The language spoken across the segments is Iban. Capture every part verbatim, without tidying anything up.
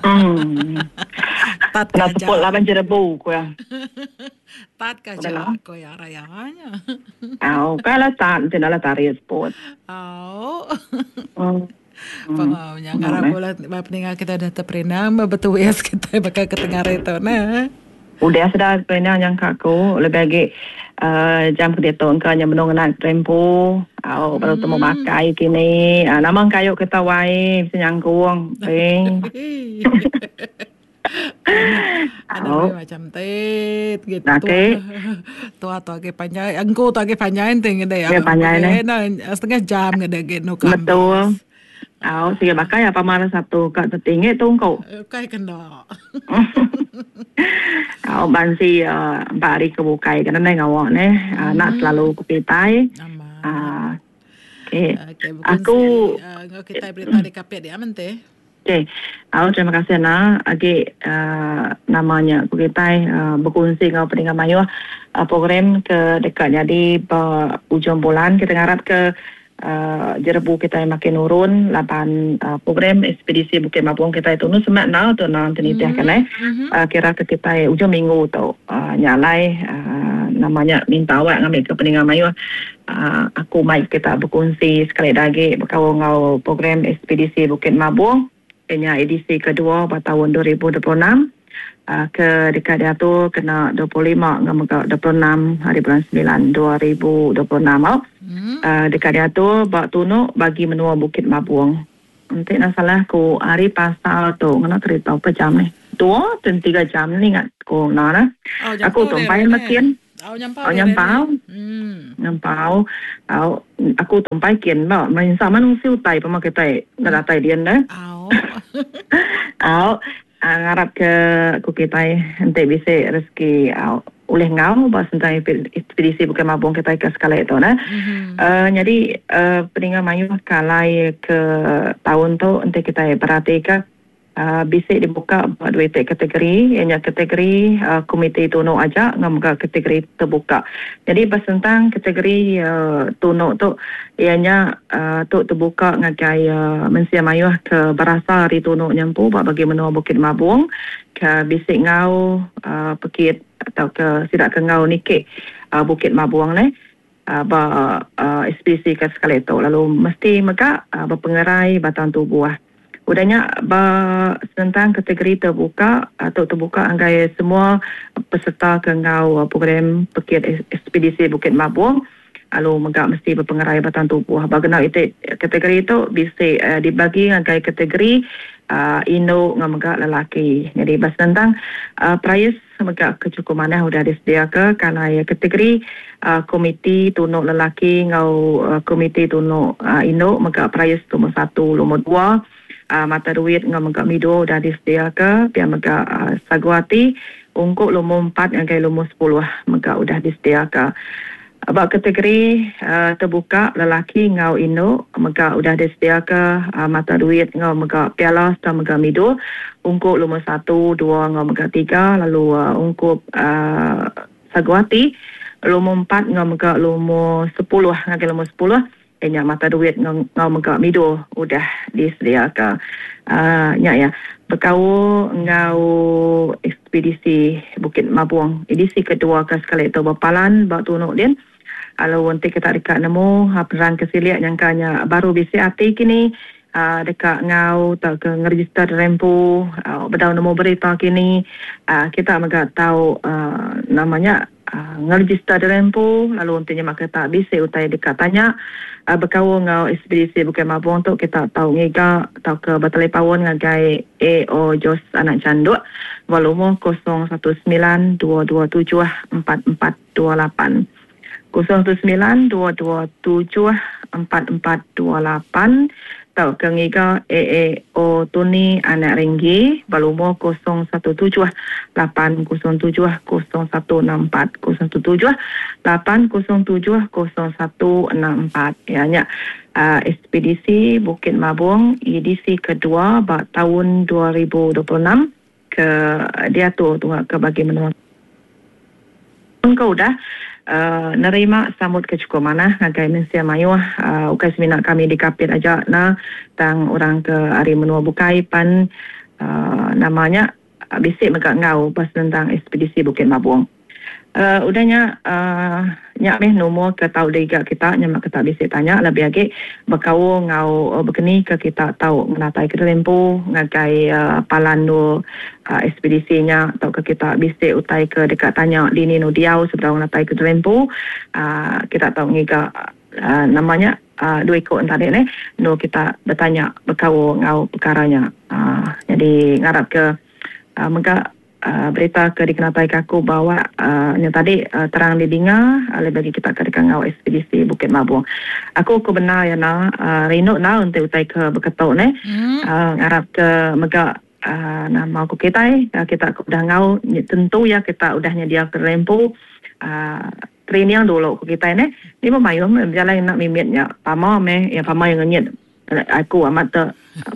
Hmm. Tat Kena ka aja. Seput laban jerebu ku iya. Tat ka aja ku iya raya nya. Au, kai lah tat enti enda lah tarit seput. Au. Hmm. Pengau nya ngarap bala peninga kita udah teperindang betuis kitai baka ke tengah hari tu neh. Udah sudah teperindang nyangka aku lebih agi uh, jam ke diatu engka nya benung ngena kerempu au baru temu makai kini. Uh, nama kayu kita wai bisa nyangkung ping. Ada macam tit gitu. Okey. Tua tu agi panjai, engku tu agi panjai enti ngede. Ya panjai neh. Setengah jam ngede ge nuka. Betul. Au siga bakai apa mar satu ka tetinggi tungku. Ukai kena. Au bansi uh, empat hari ke bukai kena nai ngawa neh. Uh, nak selalu ku pitai. Amat. Uh, okay. Okay, Aku uh, ngau kita berita di kapit dia mente. Okey. Au terima kasih na agi uh, namanya ku kitai uh, berkongsi ngau peninga mayuh uh, program ke dekat jadi ba ujung bulan kita ngarap ke Uh, jerebu kita makin nurun laban uh, program ekspedisi Bukit Mabong kita itu nu semak nau tu nang tenitih kan eh Mm-hmm. uh, kira ke kita ujung minggu tu uh, nyalai uh, namanya minta awak ngambil ke peninga mayuh uh, aku mai kita berkongsi sekali lagi berkaul ngau program ekspedisi Bukit Mabong kenya edisi kedua pada tahun dua ribu dua puluh enam uh, ke dekat dia tu kena dua puluh lima ngau dua puluh enam hari bulan sembilan dua ribu dua puluh enam au. Hmm. Uh, dekat dia tu bak tunuk bagi menua Bukit Mabong. Nanti nak salah ku hari pasal tu ngena cerita apa jam ni? Dua dan tiga jam ni ingat ku nah nah. Oh, Aku tumpai makin. Oh, nyampau. Oh, nyampau. Hmm. Nyampau. Oh, aku tumpai kin ba. Main sama nung siu tai pemakai tai. Nak datai dia dah. Oh. Oh. Uh, ngarap ke ku kitai enti bisi rezeki uh, ulih ngau ba sentang ekspedisi Bukit Mabong kitai ke sekali tu nah. Mm-hmm. Uh, jadi uh, peninga mayuh kalai ke tahun tu enti kitai perhati ke uh, bisi dibuka ba dua iti kategori, ianya kategori uh, komiti tunuk aja ngau mega kategori terbuka. Jadi basentang kategori uh, tunuk tu ianya uh, tu terbuka ngagai uh, mensia mayuh ke berasa hari tunuk nyampu ba bagi menua Bukit Mabong ke bisi ngau uh, pekit atau ke sidak ke ngau nikik uh, Bukit Mabong ne uh, ba uh, S P C ke sekali tu lalu mesti mega uh, berpengerai batang tubuh. Udahnya ba tentang kategori terbuka atau terbuka anggai semua peserta ke ngau program pekit ekspedisi Bukit Mabong lalu mega mesti berpengerai batang tubuh. Bagena itu kategori itu bisa uh, dibagi anggai kategori uh, induk ngau mega lelaki. Jadi bas tentang uh, prize mega kecukupan udah disediakan kalau ya kategori uh, komiti tunuk lelaki ngau uh, komiti tunuk uh, induk mega prize nombor satu, nombor dua. Uh, mata duit ngau mega mido dah disediakan pia mega uh, saguati ungkup lumur empat ngagai lumur sepuluh mega udah disediakan. Bab kategori uh, terbuka lelaki ngau induk mega udah disediakan uh, mata duit ngau mega piala serta mega mido ungkup lumur satu, dua ngau mega tiga lalu uh, ungkup uh, saguati lumur empat ngau mega lumur sepuluh ngagai lumur sepuluh nya mata duit ngau, ngau mega mido udah disediakan. Uh, nya ya berkaul ngau ekspedisi Bukit Mabong edisi kedua ke sekali itu berpalan bak tunuk din. Kalau nanti kita dekat nemu perang kesiliak nyangkanya baru bisi hati kini uh, dekat ngau tak ke ngeregister rempu uh, bedau nemu berita kini uh, kita mega tahu uh, namanya uh, ngeregister rempu lalu nantinya maka tak bisi utai dekat tanya uh, berkaul ngau ekspedisi Bukit Mabong tu kita tahu ngiga atau ke bertelefon ngagai A O Jos Anak Canduk volume kosong satu sembilan dua dua tujuh empat empat dua lapan kosong satu sembilan dua dua tujuh empat empat dua lapan atau ke ngiga A A O Tuni Anak Ringgi volume kosong satu tujuh lapan kosong tujuh kosong satu enam empat kosong satu tujuh lapan kosong tujuh kosong satu enam empat. Ya nya uh, ekspedisi Bukit Mabong edisi kedua bak tahun dua ribu dua puluh enam ke dia tu tunggu ke bagi menua. Kau udah Uh, nerima sambut ke cukup mana ngagai mensia mayuh uh, ukai semina kami di Kapit aja na tang orang ke ari menua bukai pan uh, namanya uh, bisi mega ngau pas tentang ekspedisi Bukit Mabong. Uh, udahnya uh, nyak meh nomor ke tau diga kita nyamak kita bisi tanya lebih lagi berkaul ngau uh, berkeni ke kita tau menatai ke lempu ngagai uh, palan nu uh, ekspedisinya atau ke kita bisi utai ke dekat tanya dini nu diau sebelum menatai ke lempu uh, kita tau ngiga uh, namanya uh, dua ikut tadi ni nu kita bertanya berkaul ngau perkaranya uh, jadi ngarap ke uh, mega Uh, berita ke dikenatai kaku bawa uh, yang tadi uh, terang didinga uh, lebih bagi kita ke dekat ngau ekspedisi Bukit Mabong. Aku aku benar ya na uh, rindu na untuk utai ke beketok ne. Hmm. Uh, ngarap ke mega uh, nama aku kita uh, kita aku udah ngau tentu ya kita udah nyedia ke lempu uh, training dulu ku kita ne. Ni memayum berjalan nak mimitnya pama me ya pama yang ngenyit aku amat te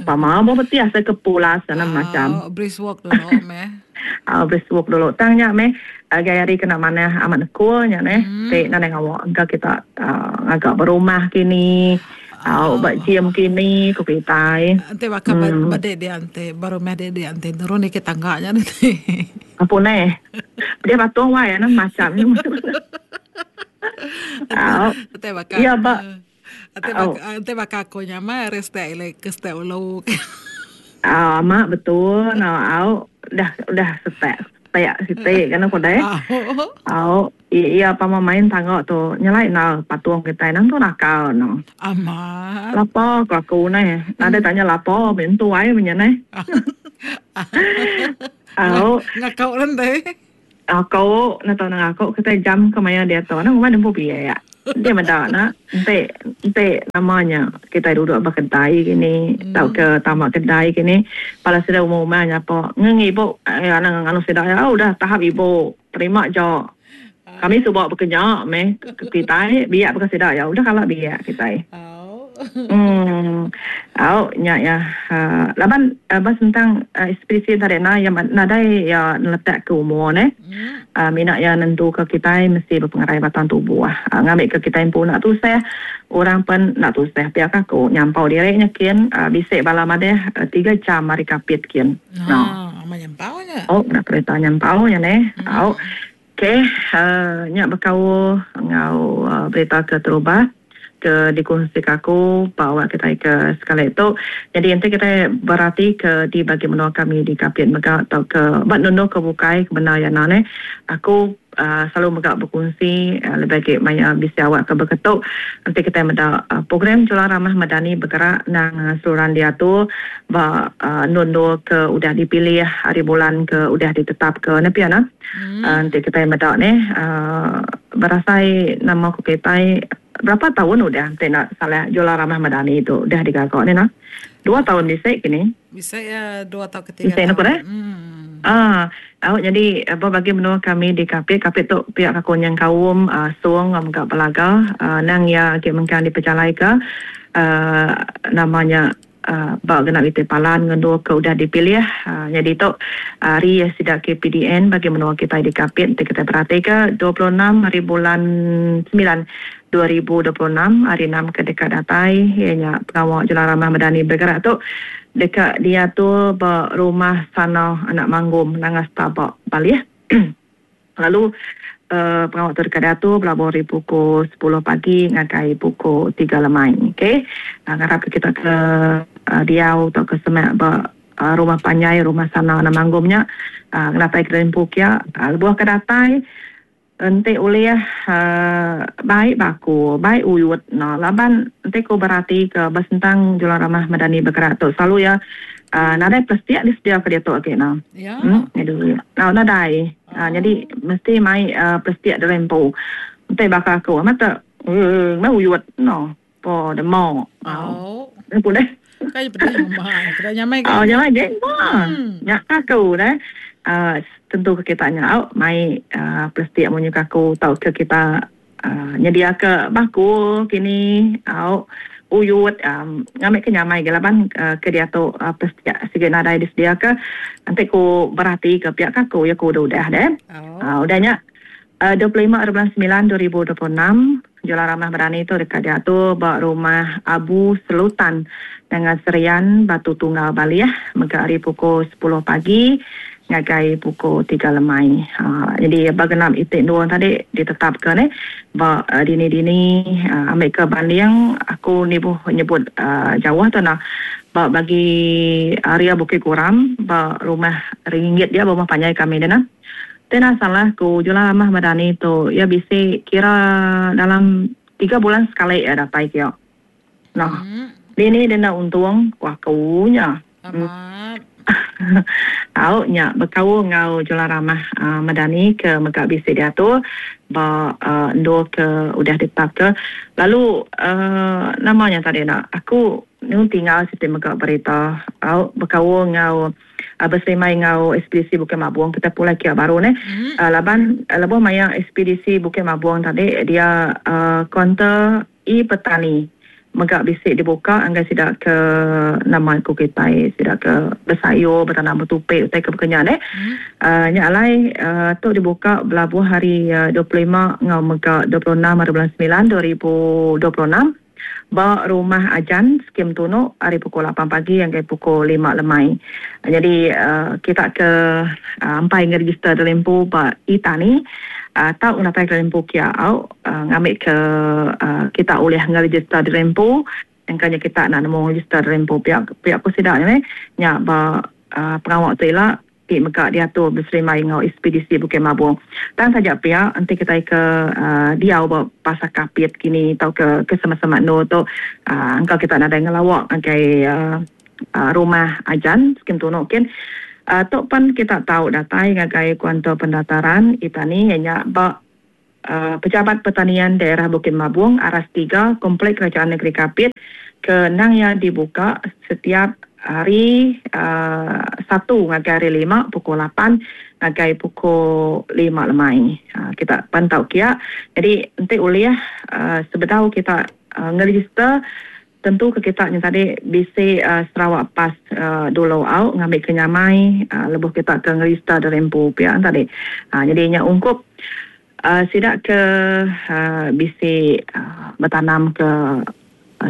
pama bo beti asa ke pulas sana macam brisk walk dulu me. Ah brisk walk dulu tangnya me gaya hari kena mana amat nekunya ne te nane ngawak engka kita uh, agak berumah kini au ba gym kini ku kitai ante baka bade dia ante baru meh dia ante turun ke tangganya nanti apa ne dia patung wae na macam ni au ante baka ya ba ante baka ante baka ko nyama reste ile ke ste ulo. Ah mak betul nah au dah dah setek setek sitik kan aku deh. Au iya pama main tangga tu nyelai na patung kita nang tu nakal no. Amat. Lapo ko aku ne. Nade tanya lapo ben tu ai punya ne. Au ngakau lan deh. Aku na tau nang aku kita jam ke maya dia tu nang rumah nempu biaya. Dia meda nak ente ente namanya kita duduk berkedai gini hmm. Tau ke tamak kedai gini pada sudah umum-umumnya apa ngeng ibu eh anak anu sudah ya udah tahap ibu terima jo kami subak bekerja meh kita biak bukan sudah ya udah kalau biak kita. Hmm, au nya ya uh, laban uh, bas tentang uh, ekspedisi tadi na yang nadai ya letak ke umur ne. Uh, minat ya nentu ke kita mesti berpengaruh batang tubuh. Uh, ngambil ke kita pun nak tusah, orang pun nak tusah pihak aku nyampau direknya kian uh, bisik bala madeh uh, tiga jam mari kapit kian. No. Ah, nyampau nya. Oh, nak kereta nyampau nya ne. Hmm. Au. Okey, uh, nya berkau ngau uh, berita ke terubah ke dikongsi aku bawa kita ke sekali itu. Jadi nanti kita berarti ke di bagi menua kami di Kapit mega atau ke bak nono ke bukai ke benar ya nane. Aku uh, selalu mega berkongsi uh, lebih baik maya bisi awak ke berketuk. Nanti kita meda uh, program Julang Ramah Madani bergerak nang uh, seluruhan dia tu ba uh, nono ke udah dipilih hari bulan ke udah ditetap ke nepi ana. Hmm. Uh, nanti kita meda ni uh, berasai nama ku kita berapa tahun udah nanti nak salah Julang Ramah Madani itu udah digagak ni nah. Dua tahun bisa kini. Bisa ya dua tahun ketiga. Bisa nak eh? Hmm. Ah, awak jadi apa bagi menua kami di Kapit, Kapit tu pihak aku yang kaum uh, suang ngam belaga uh, nang ya ke mengkan diperjalai ke uh, namanya Uh, bak genap itu palan ngendua ke udah dipilih uh, jadi tu hari uh, sidak K P D N bagi menua kita di Kapit nanti kita perhati ke dua puluh enam hari bulan sembilan dua ribu dua puluh enam hari enam ke dekat datai ianya pengawal Julang Ramah Madani bergerak tu dekat dia tu bak rumah sana anak manggum nangas tabak Bali. Lalu Uh, pengawal tu dekat dia tu berlabuh dari pukul sepuluh pagi ngagai pukul tiga lemai. Okey. Uh, ngarap kita ke uh, Riau atau ke Semak ba uh, rumah panjai rumah sana na manggumnya uh, ngatai ke lempu kia uh, lebuh ke datai ente oleh uh, baik baku baik uyut nah laban ente ko berarti ke basentang Julang Ramah Madani bergerak tu selalu ya Uh, nadai plastik disedia ke dia tu okey nah. Ya. Hmm, jadi. Nah, nadai. Uh, jadi mesti mai uh, plastik dalam po. Entai bakal aku mata eh mau uyut no. Po demo. Oh. Ni boleh. Kai pedih mah. Kada nyamai kan. Oh, nyamai je. Nyak aku dah. Uh, tentu ke kita nya mai uh, plastik munyi aku tau ke kita uh, nyedia ke baku kini au uyut um, ngambil ke nyamai ke laban uh, ke dia tu uh, plastik sikit nadai disedia ke nanti ku berhati ke pihak aku ya ku udah udah deh. Oh. Uh, udahnya Uh, dua puluh lima bulan sembilan dua ribu dua puluh enam Jualan Ramah Madani tu dekat diatur ba rumah Abu Selutan dengan Serian Batu Tunggal Baliah mega hari pukul sepuluh pagi ngagai pukul tiga lemai. Ha, jadi bagenap itik dua tadi ditetapkan eh ba uh, dini-dini uh, ambil ke banding aku ni buh nyebut uh, jauh tu nah ba bagi area Bukit Kuram ba rumah ringgit dia rumah panjai kami dia nah. Tena salah ku Jualan Ramah Madani tu ya bisi kira dalam tiga bulan sekali ya datai kia. Nah, hmm. Dini dia nak untung ku aku nya. Amat. Tau nya berkau ngau Jualan Ramah uh, Madani ke mega bisi dia tu ba uh, endo ke udah ditetap ke. Lalu uh, namanya tadi nak aku nu tinggal siti mega berita au berkau ngau uh, bersemai ngau ekspedisi Bukit Mabung kita pulai kia baru ne. Mm. Uh, laban uh, lebuh maya ekspedisi Bukit Mabung tadi dia uh, kaunter e petani mega bisik dibuka anggai sidak ke nama ku kitai sidak ke bersayo bertanam bertupik utai ke berkenyan eh. Mm. Uh, nya alai uh, tu dibuka belabuh hari uh, dua puluh lima ngau mega dua puluh enam hari bulan sembilan dua ribu dua puluh enam ba rumah Ajan skim Tunuk hari pukul lapan pagi hingga pukul lima lemai. Jadi uh, kita ke uh, ampai ngeregister dalam ba itani uh, tau natai ke lempu kia au uh, ngambil ke uh, kita boleh ngeregister dalam engkanya kita nak nemu register dalam pihak pihak ku sidak ni nya ba uh, pengawal tu ila ti mega diatur berserimai ngau ekspedisi Bukit Mabung. Tang saja pihak nanti kita ke uh, diau ba pasar Kapit kini atau ke ke sama-sama no tu uh, engkau kita nak ada ngelawak ngagai uh, uh, rumah Ajan skim Tunuk kin uh, tok pan kita tahu datai ngagai kuanto pendaftaran itani nya ba uh, Pejabat Pertanian Daerah Bukit Mabung Aras tiga Komplek Kerajaan Negeri Kapit ke nang yang dibuka setiap hari uh, Sabtu ngagai hari lima pukul lapan ngagai pukul lima lemai. Uh, kita pantau kia. Jadi nanti uliah uh, sebetau kita uh, ngeregister tentu ke kita ni tadi bisi uh, Sarawak Pass uh, dulu au ngambil kenyamai uh, lebuh kita ke ngeregister dari empu pia tadi. Uh, jadi nya ungkup uh, sidak ke uh, bisi uh, bertanam ke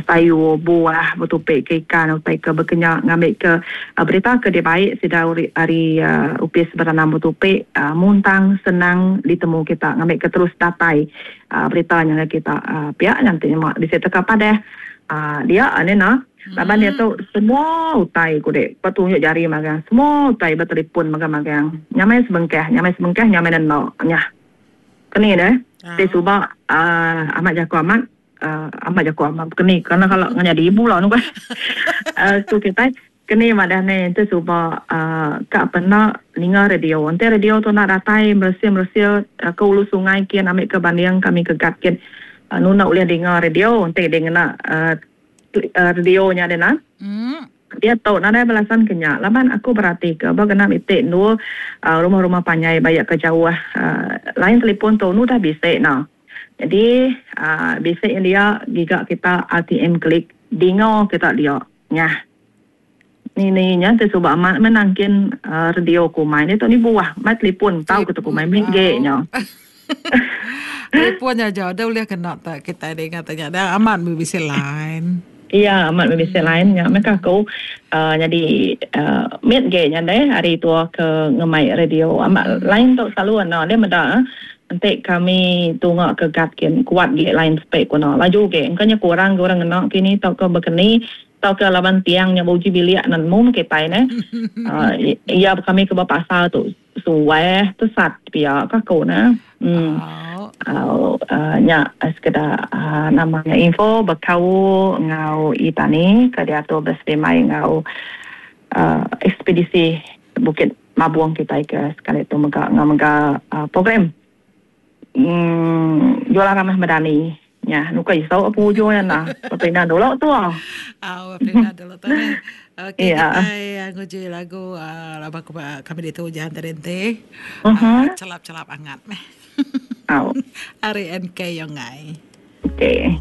sayur, buah, bertupik ke ikan, utai ke berkenyak, ngambil ke uh, berita ke dia baik sudah hari uh, upis bertanam bertupik, uh, muntang, senang ditemu kita, ngambil ke terus datai uh, beritanya kita uh, pihak nanti mak bisa teka padah uh, dia ni nah. Laban dia tu semua utai ku dek petunjuk jari magang, semua utai bertelefon magang-magang. Nyamai sebengkah, nyamai sebengkah, nyamai neno. Nyah. Keni dah. Te subak uh, amat jago amat Uh, amat jago amat keni kerana kalau jadi ibu lah nu kan. Uh, tu kita keni madah ni tu subak uh, kak pernah ninga radio. Nanti radio tu nak datai mersia-mersia uh, ke ulu sungai kian ambil ke banding kami ke gat kian. Uh, nu nak boleh dengar radio nanti dia kena uh, uh, radionya dia nak. Mm. Dia tahu nak ada balasan kenyak. Laban aku berarti ke bagenam itik nu uh, rumah-rumah panjai banyak ke jauh uh, lain telefon tu nu dah bisik nah. Jadi uh, bisik yang dia giga kita A T M klik dingo kita dia nyah. Ni ni nya tu sebab amat menangkin uh, radio ku main tu ni buah mat telefon tahu kita ku main ge nya. Telefon aja dah boleh kena tak kita dengar tanya dah amat bisik lain. Iya, amat bisik lain nya mereka aku uh, jadi uh, mit ge nya deh hari tu ke ngemai radio amat lain tu selalu ana dia meda nanti kami tungak ke gat kin kuat ge lain spek kono laju ge engkanya kurang orang kena kini tau ke berkeni tau ke laban tiang nya buji bilik nan mum ke tai ne uh, iya kami ke pasal tu suwe tu sat pia ka ko na hmm uh, uh, nya sekedar uh, namanya info berkau ngau itani ke dia tu bersemai ngau uh, ekspedisi Bukit Mabung kita ke sekali tu mega ngau mega uh, program Hmm, Jualan Ramah Madani. Ya, nuka isau apa ujungnya nah. Perpindahan dulu tu ah. Ah, perpindahan dulu tu. Okey, yeah. Kita nguji lagu uh, laba kami itu jangan terhenti. Uh-huh. Uh, celap-celap angat meh. Au. Ari N K Yongai. Okey.